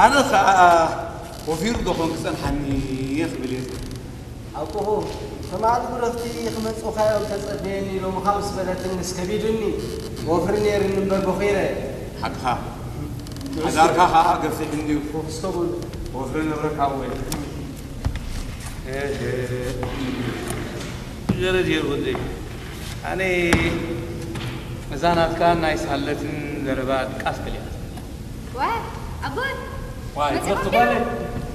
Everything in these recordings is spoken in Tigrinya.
ኣነ ኸኣ ወፊሩ ዶ ኾን ክጸንሓኒ እየ ክብል እየ። ኣቦኹ፣ ትማሊ ብረኽቲ ክመጹኻ እዮም ተጸበየኒ ኢሎምኻ ምስ በለትኒ ምስ ከቢዱኒ፣ ወፍሪ ነይርኒ እምበር በኺረ። ሓቅኻ። ሓዳርካ ኸኣ ገፊሕ እንድዩ። እስከ በሉ። ወፍሪ ንብረካ ወይ። እህ፣ ገረድ የር ወደይ። ኣነ እዛ ናትካ ናይ ሳለትን ዘረባ ድቃስ ከሊኣትኒ። ዋይ፣ ኣቦይ፣ ዋይ፣ መጺኹም ከብቲ ዲኹም? ጓለይ።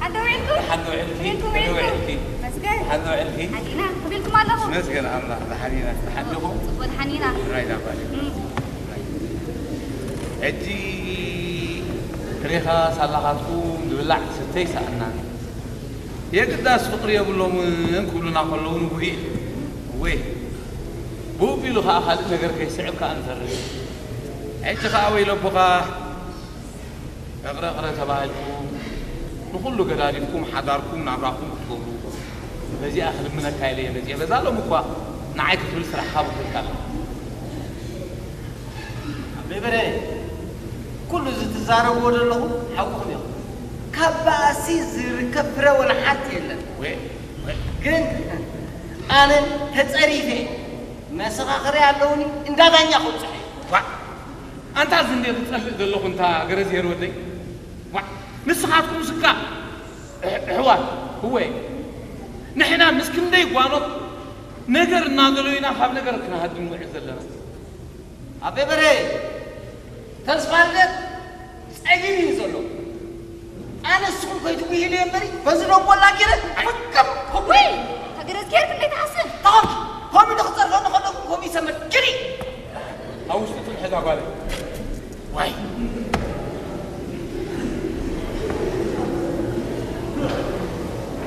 ሓንቲ ውዒልኩም? ሓንቲ ውዒልኪ? ውዒልኩም፣ ውዒልኩም? ውዒልኪ? መስገን። ሓንቲ ውዒልኪ? ሓኒና፣ ከመይ ኢልኩም ኣለኹም? መስገን ኣምላኽ፣ ደሓን ኢና። ደሓን ዲኹም? ጽቡቕ፣ ደሓን ኢና። ራይ ዳ ጓለይ። እም። ሕጂ ሪኻ ሳላኻትኩም ዝብላዕ ዝስተይ ሰኣና። የግዳስ ፍቕሪ የብሎምን ክብሉና ከለዉ ንጉሂ። ወይ፣ ብኡ ቢሉ ኸኣ ካልእ ነገር ከይስዕብ ከኣ ንፈርህ። ሕጂ ኸኣ ወይለቦኻ፣ እቕረ እቕረ ተባሂልኩም፣ ንኹሉ ገዳዲፍኩም፣ ሓዳርኩም፣ ናብራኹም ክትገብሩ። በዚኣ ክልምነካ ኢለ እየ መጺአ። በዛ ሎሚ እኳ ንዓይ ክትብል ስራሕኻ በኺልካ ኣለኻ። ኣቤ በርሀ፣ ኩሉ እዚ ትዛረብዎ ዘለኹም ሓቁኹም ኢኹም። ካብ ባእሲ ዝርከብ ፍረ ወላ ሓንቲ የለን። ወይ፣ ወይ። ግን ኣነ ተጸሪፈ መሰኻኽሪ ኣለውኒ፣ እንዳ ዳኛ ከብጽሑ እየ። ዋእ! ኣንታ እዚ እንዴ ትጸልእ ዘለኹ እንታ ገረዝሄር ወደይ? ዋእ! ንስኻትኩም ስካ ኣሕ-፣ ኣሕዋት፣ እወ፣ ንሕና ምስ ክንደይ ጓኖት ነገር እናደለዩና ካብ ነገር ክንሃድም ንውዕል ዘለና። ኣቤ በርሀ፣ ተስፋ ልደት ጸጊቡ እዩ ዘሎ። ኣነ ንስኹም ከይትጉህሉ እየ እምበሪ፣ በዚ ደንጎላ ገይረ ፍቅም ክብሎ። ወይ፣ ተገረዝጌር ክንደይ ትሓስብ? ተኾንኪ፣ ከምኡ ኢሉ ክጸርፈኒ ከለኹም ከምኡ ይሰመር። ግዲ! ኣብ ውሽጢ ትንሕዛ ጓለይ። ዋይ!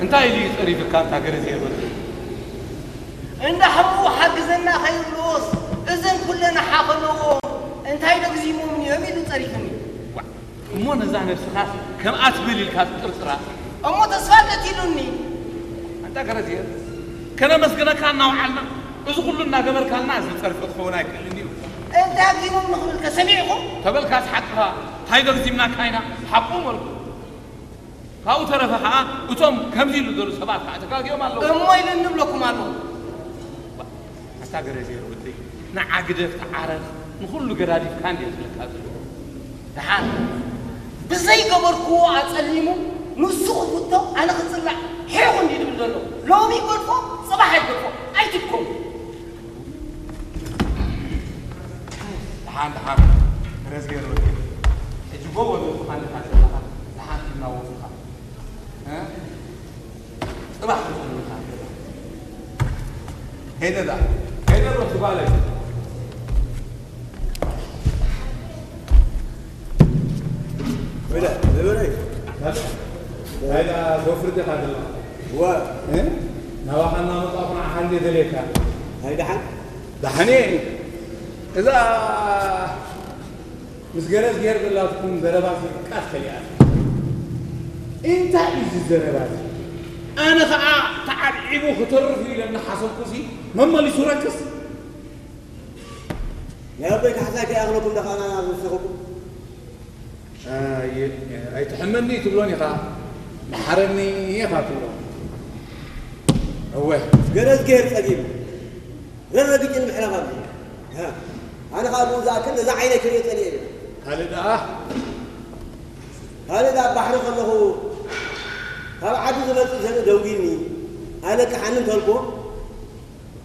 እንታይ ኢሉ እዩ ጸሪፍካ፣ ኣንታ ገረዝሄር ወደይ? እንዳ ሕሙሙ ሓግዘና ከይብልዎስ፣ እዘን ኩለን ሓኸነዎ እንታይ ደግዚሞምኒ እዮም ኢሉ ጸሪፍኒ። ዋ፣ እሞ ነዛ ነብስኻስ ከምኣ ትብል ኢልካ ትጥርጥራ? እሞ ተስፋ እንዴት ኢሉኒ? ኣንታ ገረዝሄር፣ ከነመስግነካ እናወዓልና፣ እዚ ኩሉ እናገበርካልና፣ እዚ ጸርፊ ክኸውን ኣይክእልን እዩ። እንታይ ኣግዚሞምኒ ክብልከ ሰሚዕኹም? ተበልካስ ሓቅኻ፣ እንታይ ደግዚምናካ ኢና፣ ሓቁ መልኩ። ካብኡ ተረፈ ኸዓ፣ እቶም ከምዚ ኢሉ ዘለዉ ሰባት ኸዓ ተጋግዮም ኣለዉ። እሞ ኢሉ እንብለኩም ኣለዉ። ኣታ ገረዝሄር ወደይ፣ ንዓ ግደፍ፣ ተዓረቕ፣ ንኹሉ ገዳዲፍካ እንድየ ዝብለካ ዘለኹ። ደሓን ብዘይገበርክዎ ኣጸሊሙ፣ ንሱ ክፍቶ፣ ኣነ ክጽላእ፣ ሒኹ እንድዩ ዝብል ዘሎ። ሎሚ ይገድፎ፣ ጽባሕ ኣይገድፎ፣ ኣይትድከሙ። ደሓን፣ ደሓን፣ ገረዝሄር ወደይ። ሕጂ ጎቦ ዘለኻ ኣለኻ፣ ደሓን እናወጽኻ። እ? ጽባሕ ክትብልካ። ከይደ ደኣ፣ ከይደ ዶ ትባለይ? ወይዳ፣ ወይዳ። እንታይ ደኣ፣ ዞፍር ዲኻ ዘለኻ? ዋ። እ? ናባኻ እናመጻእኩ ንዓኻ እንድየ ደልየካ። እንታይ ደሓን? ደሓን እየ። እዛ ምስ ገረዝሄር ዘላትኩም ዘረባ ድቃስ ከሊኣት። እንታይ እዩ እዚ ዘረባ እዚ? ኣነ ኸኣ ተዓብዒቡ ክተርፍ እዩ ኢለ እናሓሰብኩሲ መመሊሱ ረክስ። ናይ ኣቦይ ካሕሳይ ከይኣኽለኩም ዶ ኸኣ ናብ ዝወሰኸኩም? ኣይ-፣ ኣይትሕመኒ ትብሎን ኢኻ፣ መሓረኒ ኢኻ ትብሎ። እወ። ገረዝሄር ጸጊቡ። ረረግጭ ንምሕላፍ ኣሎ። ሃ፣ ኣነ ኸኣ ብኡ ዝኣክል ነዛ ዓይነይ ክርእዮ ጸሊኤ እየ። ካልእ ደኣ? ካልእ ደኣ ኣብ ባሕሪ ከለኹ ካብ ዓዲ ዝመጽእ ሰብ ደንጒኒ ኣለቅሓኒ እንተልኩዎ፣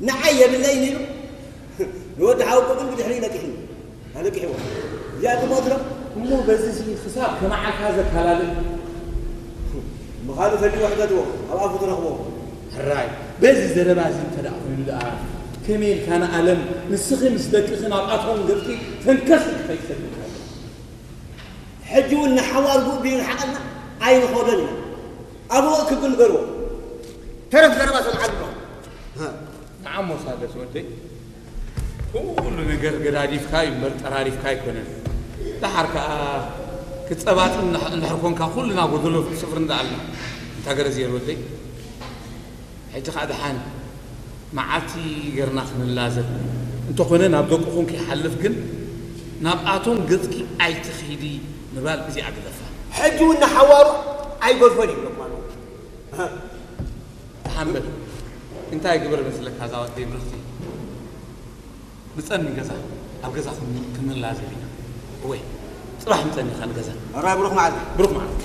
ንዓይ የብለይን ኢሉ ንወዲ ሓወቦ ግን ብድሕሪኡ ለቂሕኒ። ኣለቂሕዎ። እዚኣ ትሞት ዶ? እሞ በዚ ሲ ክሳብ ከመዓልካ ዘከላልእ? ምኻኑ ፈሊዎ ሕተትዎ፣ ኣብ ኣፉ ትረኽቦ። ሕራይ፣ በዚ ዘረባ እዚ እንተ ደኣ ኮይኑ ደኣ፣ ከመይ ኢልካ ንኣለም ንስኺ ምስ ደቅኺ ናብ ኣቶም ገጽኪ ተንከስ ኢልኪ ከይትሰግዲ? ሕጂ እውን ንሓዋር ጉእ ቢሉ ንሓቐልና ኣይንኸዶን ኢና። ኣብኡ ክብል ንገርዎ። ተረፍ ዘረባ ሰምዓሉ ኣለኹ። ሃ። ንዓሞ ሳደስ ወደይ፣ ኩሉ ነገር ገዳዲፍካ እዩ እምበር ጠራሪፍካ ኣይኮነን። ደሓር ከኣ ክትጸባጥን እንድሕ-፣ እንድሕር ኮንካ ኩልና ጎደሎ ስፍር እንዳኣልና። እንታ ገረዝሄር ወደይ፣ ሕጂ ከኣ ደሓን መዓልቲ ገርና ክንላዘብ። እንተኾነ ናብ ደቅኹም ከይሓልፍ ግን ናብኣቶም ገጽኪ ኣይትኺዲ ምባል እዚኣ ግደፋ። ሕጂ እውን ንሓዋሩ ኣይገድፎን ይብለኩም ኣለዉ። ተሓንበል እንታይ ግበር መስለካ እዛ ወደይ ብርኽቲ ምፀኒ ገዛ ኣብ ገዛ ክንላዘብ ኢና ወይ ፅባሕ ምፀኒ ካ ንገዛ ራይ ብሩኽ መዓልቲ ብሩኽ መዓልቲ